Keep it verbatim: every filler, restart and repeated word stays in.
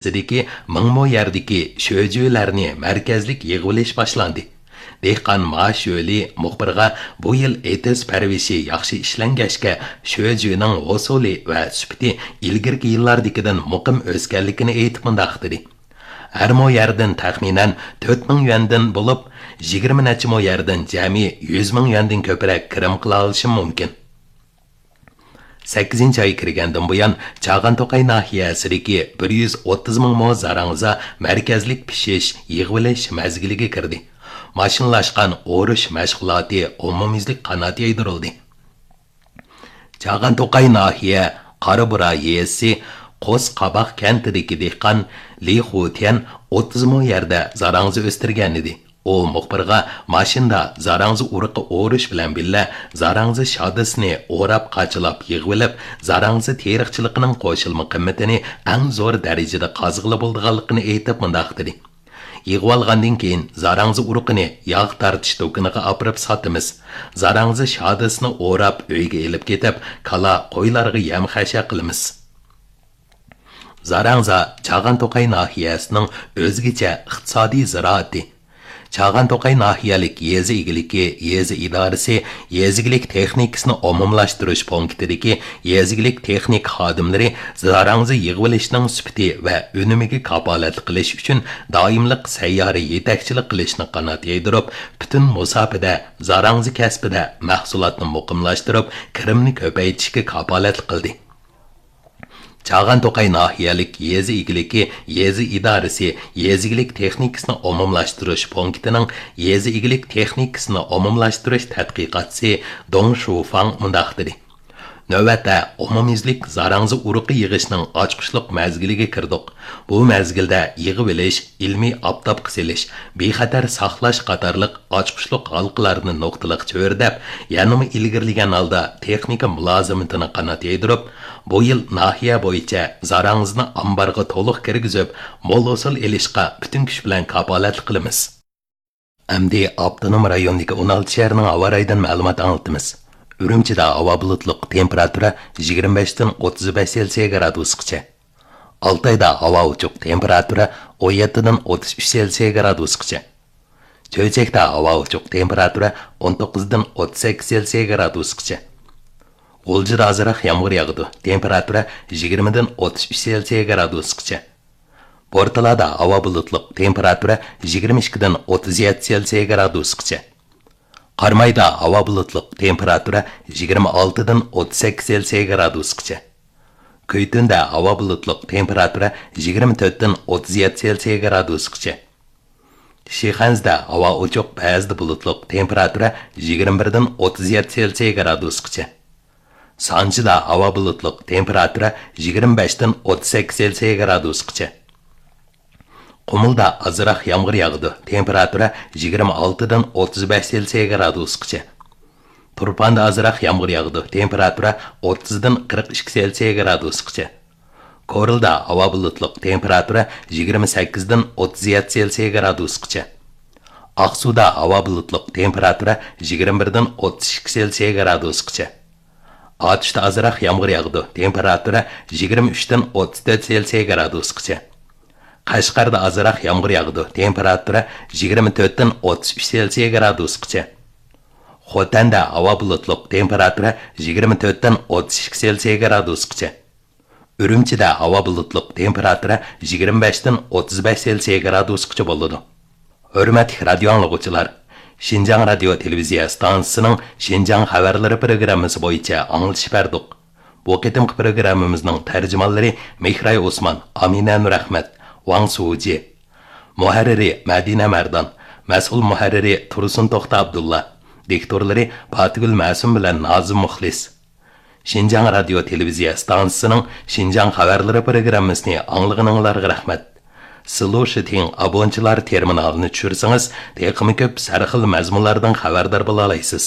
ناھىيەسىدىكى مىڭ مو يەردىكى شۆجۈلەرنى مەركەزلىك يىغىۋېلىش باشلاندى. دېھقان ما شۆلى مۇخبىرغا، بۇ يىل ئېتىز پەرۋىشى ياخشى ئىشلەنگەچكە، شۆجۈنىڭ ھوسۇلى ۋە سۈپىتى ئىلگىرىكى يىللاردىكىدىن مۇقىم ئۆسكەنلىكىنى ئېيتىپ مۇنداق دېدى: ھەر مو يەردىن تەخمىنەن تۆت مىڭ يۈەندىن بولۇپ، يىگىرمە نەچچە مو يەردىن جەمئىي يۈز مىڭ يۈەندىن كۆپرەك كىرىم قىلالىشىم مۇمكىن. سەككىزىنچى ئاي كىرگەندىن بۇيان، چاغان توقاي ناھىيەسىدىكى بىر يۈز ئوتتۇز مىڭ مو زاراڭزا مەركەزلىك پىشىش، يىغىۋېلىش مەزگىلىگە كىردى. ماشىنىلاشقان ئورۇش مەشغۇلاتى ئومۇميۈزلۈك قانات يايدۇرۇلدى. چاغان توقاي ناھىيە قارابۇرا يېزىسى قوس قاباق كەنتىدىكى دېھقان لى خۇتيەن ئوتتۇز مو يەردە زاراڭزا ئۆستۈرگەنىدى. ئۇ مۇخبىرغا ماشىنىدا زاراڭزا ئۇرۇقى ئورۇش بىلەن بىللە زاراڭزا شادىسىنى ئوراپ، قاچىلاپ يىغىۋېلىپ، زاراڭزا تېرىقچىلىقىنىڭ قوشۇلما قىممىتىنى ئەڭ زور دەرىجىدە قازغىلى بولىدىغانلىقىنى ئېيتىپ مۇنداق دېدى: يىغىۋالغاندىن كېيىن زاراڭزا ئۇرۇقىنى ياغ تارتىش دۇكىنىغا ئاپىرىپ ساتىمىز. زاراڭزا شادىسىنى ئوراپ ئۆيگە ئېلىپ كېتىپ، كالا، قويلارغا يەم خەشەك قىلىمىز. زاراڭزا چاغان توقاي ناھىيەسىنىڭ ئۆزگىچە ئىقتىسادىي زىرائىتى. چاغان توقاي ناھىيەلىك يېزا ئىگىلىكى يېزا ئىدارىسى يېزا ئىگىلىك تېخنىكىسىنى ئومۇملاشتۇرۇش پونكىتىدىكى يېزا ئىگىلىك تېخنىكا خادىملىرى زاراڭزا يىغىۋېلىشنىڭ سۈپىتى ۋە ئۈنۈمىگە كاپالەتلىك قىلىش ئۈچۈن دائىملىق سەييارە يېتەكچىلىك قىلىشنى قانات يايدۇرۇپ، پۈتۈن مۇساپىدە زاراڭزا كەسپىدە مەھسۇلاتنى مۇقىملاشتۇرۇپ، كىرىمنى كۆپەيتىشكە كاپالەتلىك قىلدى. چاغان توقاي ناھىيەلىك يېزا ئىگىلىكى يېزا ئىدارىسى يېزا ئىگىلىك تېخنىكىسىنى ئومۇملاشتۇرۇش پونكىتىنىڭ يېزا ئىگىلىك تېخنىكىسىنى ئومۇملاشتۇرۇش تەتقىقاتچىسى دۇڭ شۇفاڭ مۇنداق دېدى: نۆۋەتتە ئومۇميۈزلۈك زاراڭزا ئۇرۇقى يىغىشنىڭ ئاچقۇچلۇق مەزگىلىگە كىردۇق. بۇ مەزگىلدە يىغىۋېلىش، ئىلمىي ئاپتاپقا سېلىش، بىخەتەر ساقلاش قاتارلىق ئاچقۇچلۇق ھالقىلارنى نۇقتىلىق چۆرىدەپ، يەنىمۇ ئىلگىرىلىگەن ھالدا تېخنىكا مۇلازىمىتىنى قانات يايدۇرۇپ، بۇ يىل ناھىيە بويىچە زاراڭزىنى ئامبارغا تولۇق كىرگۈزۈپ، مول ھوسۇل ئېلىشقا پۈتۈن كۈچ بىلەن كاپالەتلىك قىلىمىز. ئەمدى ئاپتونوم رايوندىكى ئون ئالتە شەھەرنىڭ ھاۋا رايىدىن مەلۇمات ئاڭلىتىمىز. ئۈرۈمچىدە ھاۋا بۇلۇتلۇق، تېمپېراتۇرا يىگىرمە بەشتىن ئوتتۇز بەش سېلسىيە گرادۇسقىچە. ئالتايدا ھاۋا ئوچۇق، تېمپېراتۇرا ئون يەتتىدىن ئوتتۇز ئۈچ سېلسىيە گرادۇسقىچە. چۆچەكتە ھاۋا ئوچۇق، تېمپېراتۇرا ئون توققۇزدىن ئوتتۇز سەككىز سېلسىيە گرادۇسقىچە. غۇلجىدا ئازراق يامغۇر ياغىدۇ، تېمپېراتۇرا يىگىرمىدىن ئوتتۇز ئۈچ سېلسىيە گرادۇسقىچە. بورتالادا ھاۋا بۇلۇتلۇق، تېمپېراتۇرا يىگىرمە ئىككىدىن ئوتتۇز يەتتە سېلسىيە گرادۇسقىچە. قارامايدا ھاۋا بۇلۇتلۇق، تېمپېراتۇرا يىگىرمە ئالتىدىن ئوتتۇز سەككىز سېلسىيە گرادۇسقىچە. كۈيتۈندە ھاۋا بۇلۇتلۇق، تېمپېراتۇرا يىگىرمە تۆتتىن ئوتتۇز يەتتە سېلسىيە گرادۇسقىچە. شىخەنزىدە ھاۋا ئوچۇق، بەزىدە بۇلۇتلۇق، تېمپېراتۇرا يىگىرمە بىردىن ئوتتۇز يەتتە سېلسىيە گرادۇسقىچە. سانجىدا ھاۋا بۇلۇتلۇق، تېمپېراتۇرا يىگىرمە بەشتىن ئوتتۇز سەككىز سېلسىيە گرادۇسقىچە. قۇمۇلدا ئازراق يامغۇر ياغىدۇ، تېمپېراتۇرا يىگىرمە ئالتىدىن ئوتتۇز بەش سېلسىيە گرادۇسقىچە. تۇرپاندا ئازراق يامغۇر ياغىدۇ، تېمپېراتۇرا ئوتتۇزدىن قىرىق ئىككى سېلسىيە گرادۇسقىچە. كورلىدا ھاۋا بۇلۇتلۇق، تېمپېراتۇرا يىگىرمە سەككىزدىن ئوتتۇز يەتتە سېلسىيە گرادۇسقىچە. ئاقسۇدا ھاۋا بۇلۇتلۇق، تېمپېراتۇرا يىگىرمە بىردىن ئوتتۇز ئىككى سېلسىيە گرادۇسقىچە. ئاتۇشتا ئازراق يامغۇر ياغىدۇ، تېمپېراتۇرا يىگىرمە ئۈچتىن ئوتتۇز تۆت سېلسىيە گرادۇسقىچە. قەشقەردە ئازراق يامغۇر ياغىدۇ، تېمپېراتۇرا يىگىرمە تۆتتىن ئوتتۇز ئۈچ سېلسىيە گرادۇسقىچە. خوتەندە ھاۋا بۇلۇتلۇق، تېمپېراتۇرا يىگىرمە تۆتتىن ئوتتۇز ئىككى سېلسىيە گرادۇسقىچە. ئۈرۈمچىدە ھاۋا بۇلۇتلۇق، تېمپېراتۇرا يىگىرمە بەشتىن ئوتتۇز بەش سېلسىيە گرادۇسقىچە بولىدۇ. ھۆرمەتلىك رادىيو ئاڭلىغۇچىلار، شىنجاڭ رادىيو تېلېۋىزىيە ئىستانسىسىنىڭ شىنجاڭ خەۋەرلىرى پروگراممىسى بويىچە ئاڭلىتىش بەردۇق. بۇ قېتىمقى پروگراممىمىزنىڭ تەرجىمانلىرى مېھراي ئوسمان، ئامىنە نۇرئەخمەت، ۋاڭ سۇجى. مۇھەررىرى مەدىنە مەردان، مەسئۇل مۇھەررىرى تۇرسۇن توختى ئابدۇللا، دىكتورلىرى پاتىگۈل مەسۇم بىلەن نازىم مۇخلىس. شىنجاڭ رادىيو تېلېۋىزىيە ئىستانسىسىنىڭ شىنجاڭ خەۋەرلىرى پروگراممىسىنى ئاڭلىغىنىڭلارغا رەھمەت. سىلۇشىتىڭ ئابونچىلار تېرمىنالىنى چۈشۈرسىڭىز، تېخىمۇ كۆپ سەرخىل مەزمۇنلاردىن خەۋەردار بولالايسىز.